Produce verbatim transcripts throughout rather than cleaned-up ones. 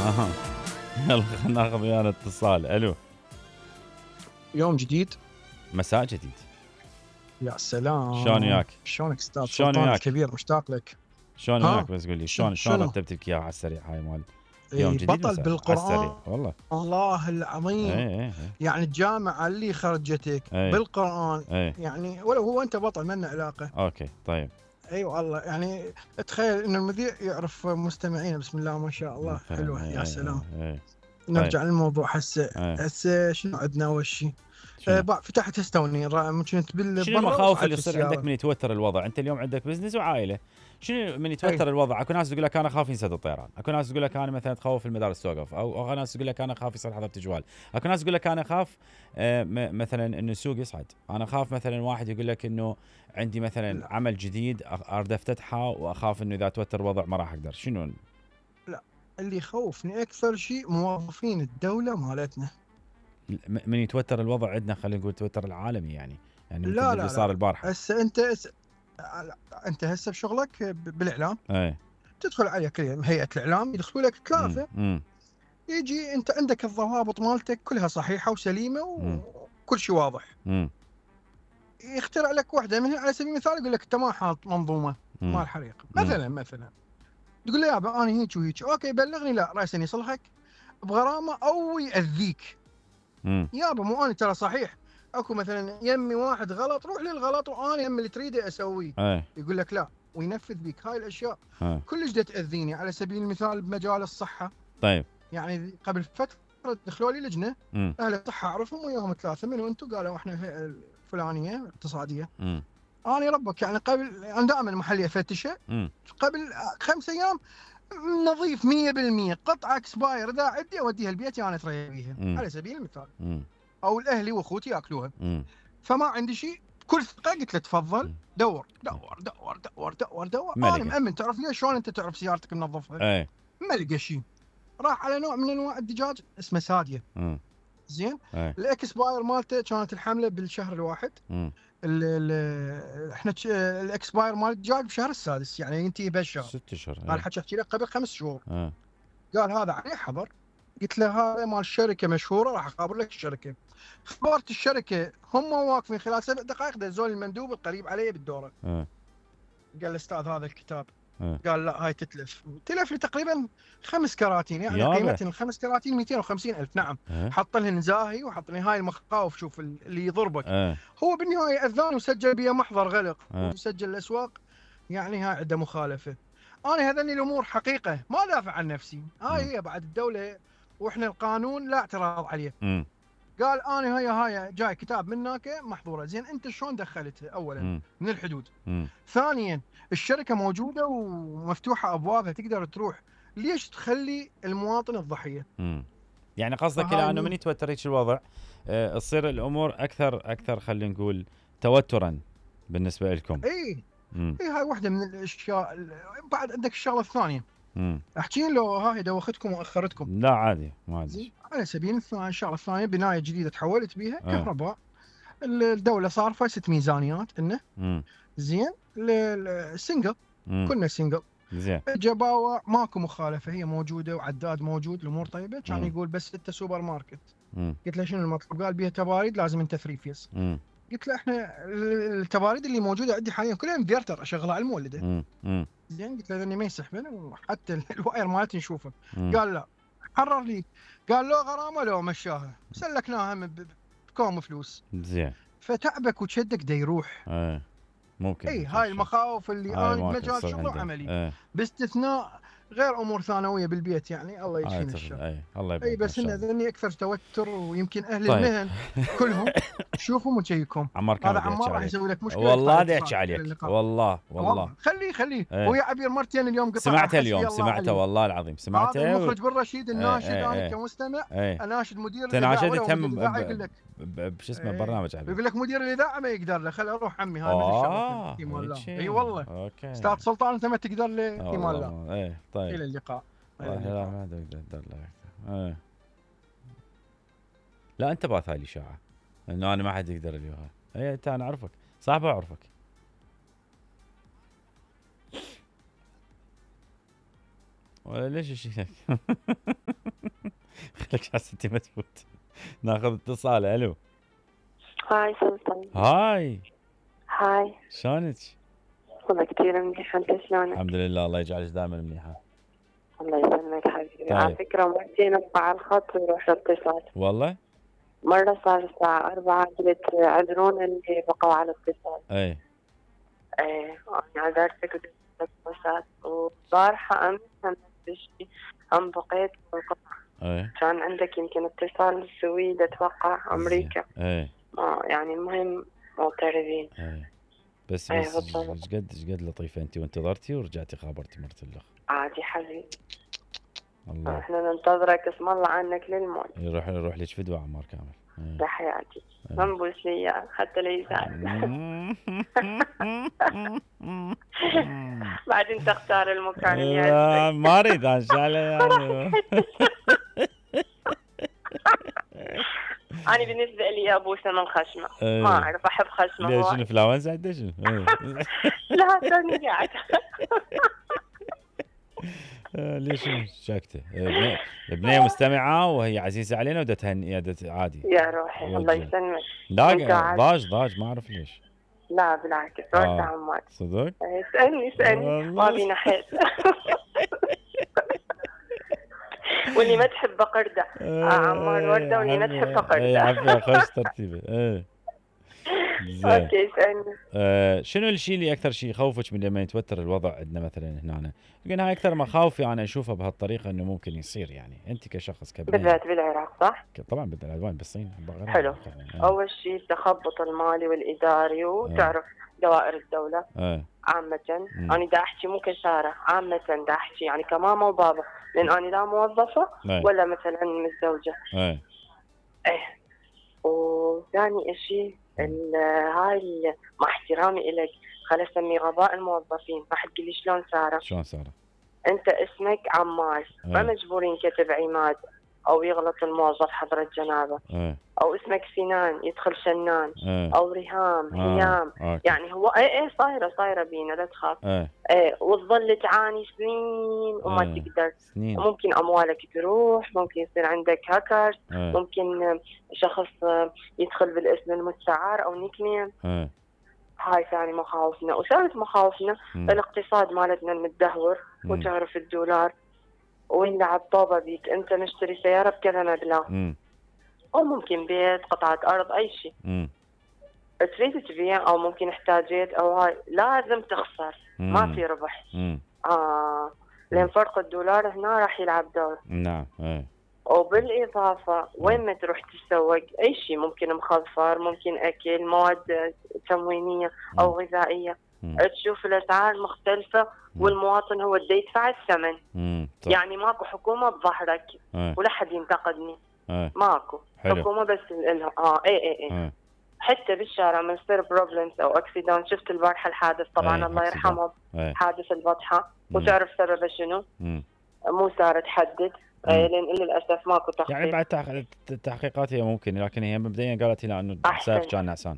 اها يلا خلينا ناخذ ويانا اتصال. الو. يوم جديد مساء جديد. يا سلام. شلون وياك؟ شلونك استاذ شلون سلطان وياك؟ الكبير، مشتاق لك. شلون ها؟ وياك بس قول لي شلون شنو؟ شلون رتبت لك اياها على السريع هاي مال يوم إيه، جديد بطل مساء على السريع بالقرآن والله. الله العظيم. اي اي اي يعني الجامعة اللي خرجتك إيه. بالقرآن اي يعني ولو هو أنت بطل منا علاقة. اوكي طيب. اي أيوة والله يعني تخيل إن المذيع يعرف مستمعينا. بسم الله ما شاء الله. حلوة. إيه يا إيه سلام. إيه إيه. نرجع طيب. للموضوع هسه. إيه. هسه شنو عندنا أول شيء؟ شنو؟ آه بقى فتحت استوني ممكن تبل شنو المخاوف اللي تصير عندك من يتوتر الوضع؟ انت اليوم عندك بزنس وعائله، شنو من يتوتر أي. الوضع؟ اكو ناس تقول لك انا خاف ينسد الطيران، اكو ناس تقول لك انا مثلا تخوف المدارس توقف، او اكو ناس تقول لك انا خاف يصير حظر تجوال، اكو ناس تقول لك انا خاف آه مثلا انه السوق يصعد، انا خاف مثلا واحد يقول لك انه عندي مثلا لا. عمل جديد اريد افتتحه واخاف انه اذا توتر الوضع ما راح اقدر. شنو؟ لا، اللي يخوفني اكثر شيء موظفين الدوله مالتنا. من يتوتر الوضع عندنا خلينا نقول توتر العالمي يعني يعني مثل لا اللي لا صار لا البارحه. هسه انت هس... انت هسه بشغلك بالاعلام. اي تدخل على كل هيئه الاعلام يدخلوا لك ثلاثه. امم يجي انت عندك الضوابط مالتك كلها صحيحه وسليمه وكل شيء واضح. امم يخترع لك واحده منها على سبيل المثال يقول لك انت ما حاط منظومه مال حريق مثلا مثلا تقول له يابا انا هيك وهيك اوكي بلغني. لا راسا يصلحك بغرامه او ياذيك. امم يابا مو انا ترى صحيح اكو مثلا يمي واحد غلط روح للغلط وانا يمي اللي تريده اسويه. اي يقول لك لا وينفذ بك هاي الاشياء. اي كلش دا تاذيني على سبيل المثال بمجال الصحه. طيب. يعني قبل فتره دخلوا لي لجنه امم اهل الصحه اعرفهم وياهم ثلاثه منو انتم؟ قالوا احنا الهيئه الفلانيه الاقتصاديه. امم انا ربك يعني قبل انا دائما محلي افتشه امم قبل خمس ايام نظيف مية بالمية قطعه اكسباير اذا عندي اوديها البيت انا اتريا بيها على سبيل المثال. امم او الاهلي واخوتي ياكلوها. امم فما عندي شيء بكل ثقه قلت له تفضل دور دور دور دور دور دور انا مأمن. تعرف ليش؟ شلون انت تعرف سيارتك منظفها؟ اي ما لقى شيء. راح على نوع من انواع الدجاج اسمه ساديه. امم زين. اي الاكسباير مالته كانت الحمله بالشهر الواحد. امم ال ال احنا الاكسباير مال الدجاج بشهر السادس يعني ينتهي بهالشهر. ست اشهر. انا حكيت احكي لك قبل خمس شهور. اه قال هذا عليه حظر. قلت له هذا مال شركه مشهوره راح اخابر لك الشركه. خبرت الشركه هم واقفين خلال سبع دقائق دزول المندوب القريب علي بالدوره. اه قال الاستاذ هذا الكتاب. اه قال لا هاي تتلف. تلف لي تقريبا خمس كراتين يعني يابا. قيمه الخمس كراتين مئتين وخمسين ألف. نعم. اه حط لهن زاهي وحط لي هاي المخاوف. شوف اللي يضربك. اه هو بالنهايه اذان وسجل بيه محضر غلق اه وسجل الاسواق. يعني هاي عنده مخالفه. انا هذني الامور حقيقه ما دافع عن نفسي. هاي هي بعد الدوله واحنا القانون لا اعتراض عليه. امم قال انا هي هاي جاي كتاب منك محظوره. زين انت شلون دخلتها؟ اولا امم من الحدود. امم ثانيا الشركه موجوده ومفتوحه ابوابها تقدر تروح. ليش تخلي المواطن الضحيه؟ امم يعني قصدك فهاي الى انه من يتوتر هيك الوضع آه، تصير الامور اكثر اكثر خلينا نقول توترا بالنسبه لكم. اي امم اي هاي واحده من الاشياء. بعد عندك الشغله الثانيه. امم احكي لو هاي دوختكم واخرتكم. لا عادي ما عادي. زين على سبيل المثال الشغله الثانيه بنايه جديده تحولت بيها آه. كهرباء. الدوله صارفه ست ميزانيات انه امم زين السنجل امم كنا سنجل. زين جباوة ماكو مخالفه هي موجوده وعداد موجود الامور طيبه. كان مم. يقول بس انت سوبر ماركت. امم قلت له شنو المطلوب؟ قال بيها تباريد لازم انت ثري فيز. امم قلت له احنا التباريد اللي موجوده عندي حاليا كلها انفرتر اشغلها على المولده. امم امم زين قلت له اني ما يسحبن وحتى الواير مالتي نشوفه. مم. قال لا حرر لي. قال لو غرامه لو مشاها سلكناها من ب- بكوم فلوس. زين فتعبك وتشدك دا يروح. ايه ممكن اي هاي المخاوف اللي هاي انا ممكن بمجال تصير شغله عندك. وعملي. ايه باستثناء غير امور ثانويه بالبيت يعني الله هاي يكفينا تفضل. الشر. ايه الله يبارك اي بس ان ذني اكثر توتر ويمكن اهل طيب. المهن كلهم شوفهم وجيكم. عمار كان هذا بدي أحكي عمار راح عليك. يسوي لك مشكله. والله يدفع بدي اتصال احكي على عليك اللقاء. والله والله خليه خليه ايه. ويا عبير مرتين اليوم قطع سمعته حسبي اليوم الله سمعته عليه. والله العظيم سمعته. هذا المخرج بن رشيد الناشد. ايه انا ايه كمستمع ايه اناشد مدير تناشدت الاذاعه هم الاذاعه يقول لك بشو اسمه ايه. برنامج عليه. يقول لك مدير الاذاعه ما يقدر له. خل اروح عمي هاي من اه الشرف. ايمان الله. هيك. اي والله اوكي استاذ سلطان انت ما تقدر له. ايمان الله. والله ايه طيب. الى اللقاء. إلى والله لا اللقاء. ما اقدر له ايه. لا انت باث هاي الاشاعه انه انا ما حد يقدر لي هاي. اي انت انا اعرفك صاحبه اعرفك. ولا ليش الشيء خليك على ستي ما تفوت. ناخذ اتصال. الو. هاي سلطان. هاي. هاي. شلونك؟ والله كثير منيحة، انت شلونك؟ الحمد لله، الله يجعلك دائما منيحة. الله يسلمك حبيبي. طيب. على فكرة مرتين اطلع على الخط ويروح الاتصال. والله؟ مرة صار الساعة أربعة قلت عذرون اللي بقوا على الاتصال. اي. ايه أنا عذرتك ودقت مسات، وبارحة أمس هم بشي هم بقيت بالقطع. اي. كان عندك يمكن اتصال بالسويد أتوقع أمريكا. اي. آه يعني المهم معترضين. اي. بس ايه بس بالضبط. ايش قد ايش قد لطيفة انت وانتظرتي ورجعتي خابرتي مرت الاخ. عادي حبيبي. الله. احنا ننتظرك اسم الله عنك للموت. يروح يروح لك فدوة عمار كامل. اي. لحياتي. اي. ما نبوس لي اياه حتى لا يزعل. بعدين تختار المكان اللي لا يعجبك. ما اريد ان شاء الله يعني. انا بالنسبه لي ابوسه من خشمه. اي. ما اعرف احب خشمه. ليش هو شنو فلاونسا عنده شنو؟ اي. لا توني قاعد. آه، ليش شنو شاكته؟ البنية البنية مستمعة وهي عزيزة علينا ودا تهنئة دا عادي. يا روحي الله وجه. يسلمك. لا وانت عاد. ضاج ضاج ما اعرف ليش. لا بالعكس آه. وانت عمار. صدق؟ إيه، اسالني اسالني والله. ما بينا حيل. واللي ما تحب قردة. آه عمار وردة واللي ما تحب اي قردة. عافية خوش ترتيبه. ايه. زين. اوكي اسالني. آه شنو الشيء اللي اكثر شيء يخوفك من لما يتوتر الوضع عندنا مثلا هنا؟ يمكن هاي اكثر مخاوفي انا اشوفها بهالطريقه انه ممكن يصير يعني انت كشخص كبني. بالذات بالعراق صح؟ طبعا بالذات وين بالصين. حلو. يعني. اول شيء التخبط المالي والاداري وتعرف دوائر الدولة ايه. عامة. مم. أنا دا أحكي مو كسارة عامة دا أحكي يعني كماما وبابا، لأن أنا لا موظفة ايه. ولا مثلا متزوجة. ايه. إيه. وثاني إشي ال- هاي ال- مع احترامي إلك خل أسمي غباء الموظفين. راح تقولي شلون سارة؟ شلون سارة؟ أنت اسمك عمار ما ايه. مجبورين كتب عماد أو يغلط الموظف حضرة جنابه، ايه. أو اسمك سنان يدخل شنان، ايه. أو ريهام آه. هيام. أوكي. يعني هو ايه ايه صايره صايره بينا لا تخاف. ايه. ايه وتظل تعاني سنين وما إيه. تقدر. سنين. ممكن اموالك تروح، ممكن يصير عندك هاكرز، ايه. ممكن شخص يدخل بالاسم المستعار او نيك نيم. ايه. هاي ثاني مخاوفنا. وثالث مخاوفنا مم. الاقتصاد مالتنا المتدهور. مم. وتعرف الدولار ويلعب طوبه بيك. انت مشتري سياره بكذا مبلغ امم. او ممكن بيت قطعه ارض اي شيء امم. تريد تبيع او ممكن احتاجيت او هاي لازم تخسر. ما في ربح. امم. اه لان فرق الدولار هنا راح يلعب دور. نعم. ايه. وبالاضافه وين ما تروح تسوق اي شيء ممكن مخفر، ممكن اكل، مواد تموينيه او غذائيه، مم. تشوف الاسعار مختلفه والمواطن هو اللي يدفع الثمن. امم. يعني ماكو حكومه بظهرك ايه. ولا حد ينتقدني. ايه. ماكو حلو. حكومه بس لها. اه اي اي اي ايه. حتى بالشارع من يصير بروبلمز او اكسيدنت. شفت البارحه الحادث طبعا أي، الله أكسيدنت. يرحمهم. ايه. حادث البطحه. مم. وتعرف سببه شنو؟ امم. مو صار تحدد. مم. آه، لان للاسف ماكو تحقيق. يعني بعد تحق- التحقيقات هي ممكن، لكن هي مبدئيا قالت لنا انه أحسن. السائق كان نعسان.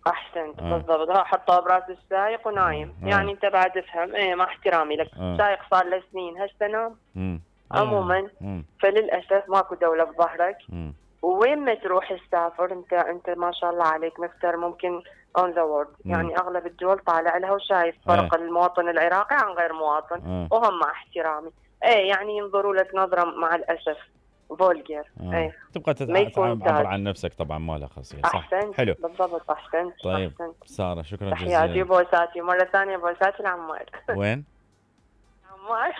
احسنت. آه. بالضبط. ها حطها براس السايق ونايم. آه. يعني انت بعد افهم. ايه مع احترامي لك. آه. سايق صار له سنين هسه نام. امم. عموما امم. فللاسف ماكو دوله بظهرك. امم. وين ما تروح تسافر انت انت ما شاء الله عليك مفتر ممكن اون ذا وورد. مم. يعني اغلب الدول طالع لها وشايف فرق المواطن العراقي عن غير مواطن. آه. وهم مع احترامي ايه يعني ينظروا لك نظره مع الاسف فولجر. آه. ايه تبقى ما يكون تتعبر تاج. عن نفسك طبعا، ما لها خاصيه. صح. احسنت. حلو. بالضبط احسنت. طيب احسنت. ساره شكرا تحياتي جزيلا. وبوساتي مره ثانيه بوساتي العمار. وين؟ عمار.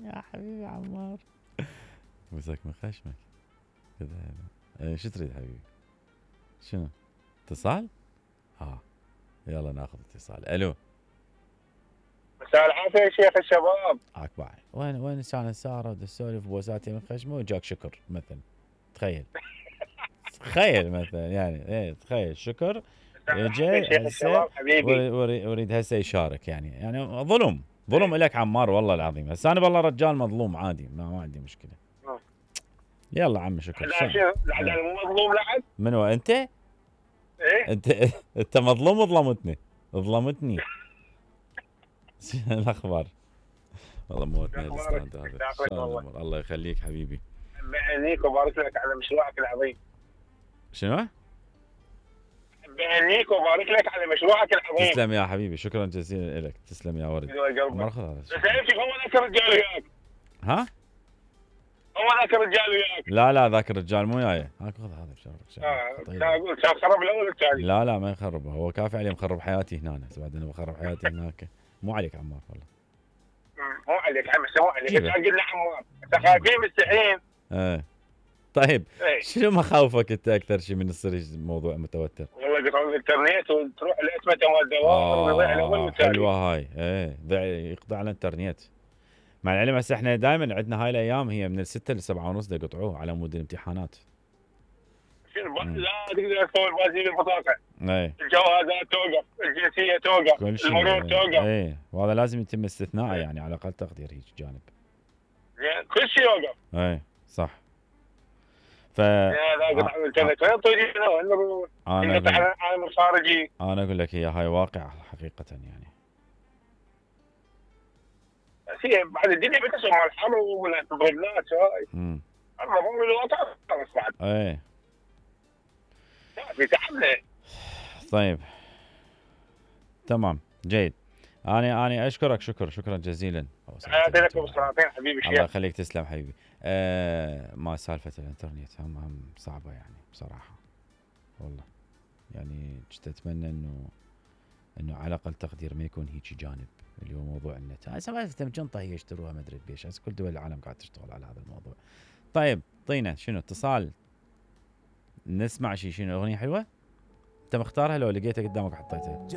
يا حبيبي عمار مسك من خشمك كذا. ايه شو تريد حبيبي؟ شنو؟ اتصال؟ ها يلا ناخذ اتصال. الو. مساء العافية يا شيخ الشباب. عاك باعي. وين وين كانت ساره تسولف بوساتي من خشمه وجاك شكر مثلا. تخيل. تخيل مثلا يعني ايه تخيل شكر مساء العافية يا شيخ هسه الشباب حبيبي. وريد, وريد, وريد هسه يشارك يعني يعني ظلم ظلم لك عمار والله العظيم. هسه انا والله رجال مظلوم عادي ما, ما عندي مشكله. آه. يلا عم شكر. لا شو لحد الآن مو مظلوم لحد؟ من هو انت؟ ايه؟ انت انت مظلوم وظلمتني ظلمتني. شنو الاخبار؟ والله موتني أخبارك؟ الاستاذ هذا. يسعدك شلون والله. الأمور؟ الله يخليك حبيبي. بهنيك وبارك لك على مشروعك العظيم. شنو؟ بهنيك وبارك لك على مشروعك العظيم. تسلم يا حبيبي، شكرا جزيلا لك. تسلم يا ورد. قلبك. مرخص هذا. بس عرفتي هو ذاك الرجال وياك. ها؟ هو ذاك الرجال وياك. لا لا ذاك الرجال مو وياي. هاك خذ هذا بشرفك. اه طيب. كان اقول كان خرب الاول الثاني. لا لا ما يخرب، هو كافي عليه مخرب حياتي هنا. أنا بعد انا بخرب حياتي هناك. مو عليك عمار والله. مو عليك عم مو عليك. جيبه. انت قلنا عمار. انت خايفين مستحيين. ايه طيب ايه. شنو مخاوفك انت اكثر شيء من يصير الموضوع متوتر؟ والله يقطعون الانترنت وتروح الاسمه مال الدوام ويضيع الاول اه والثاني. حلوه هاي. ايه ضيع يقطع على الانترنت. مع العلم هسه احنا دائما عندنا هاي الايام هي من الستة لسبعة ونص يقطعوه على مود الامتحانات. شنو مم. لا تقدر تسوي بازي بالبطاقه. ايه الجوازات توقف، الجنسيه توقف، كل شيء. المرور ايه, توقف. ايه. وهذا لازم يتم استثناءه يعني على اقل تقدير هيك جانب. زين كل شيء يوقف. ايه صح. ف يا لا قطع الانترنت وين طريقنا وين نروح؟ انا يقطع اقول, العالم الخارجي. انا اقول لك هي هاي واقع حقيقه يعني. بس هي بعد الدنيا بتسوى مع الحر والبرودات هاي. امم المفروض الوضع خلص بعد. ايه في تعبنا. طيب تمام جيد. انا انا اشكرك شكر شكرا جزيلا. حياتي لكم السلاطين حبيبي الله الشيخ. يخليك تسلم حبيبي. آه ما سالفه الانترنت هم هم صعبه يعني بصراحه والله. يعني كنت اتمنى انه انه على اقل تقدير ما يكون هيك جانب اللي هو موضوع النت. هاي سالفه جنطه هي يشتروها ما ادري بيش. هسه كل دول العالم قاعد تشتغل على هذا الموضوع. طيب طينا شنو اتصال نسمع شيء. شنو اغنيه حلوه انت مختارها لو لقيتها قدامك حطيتها؟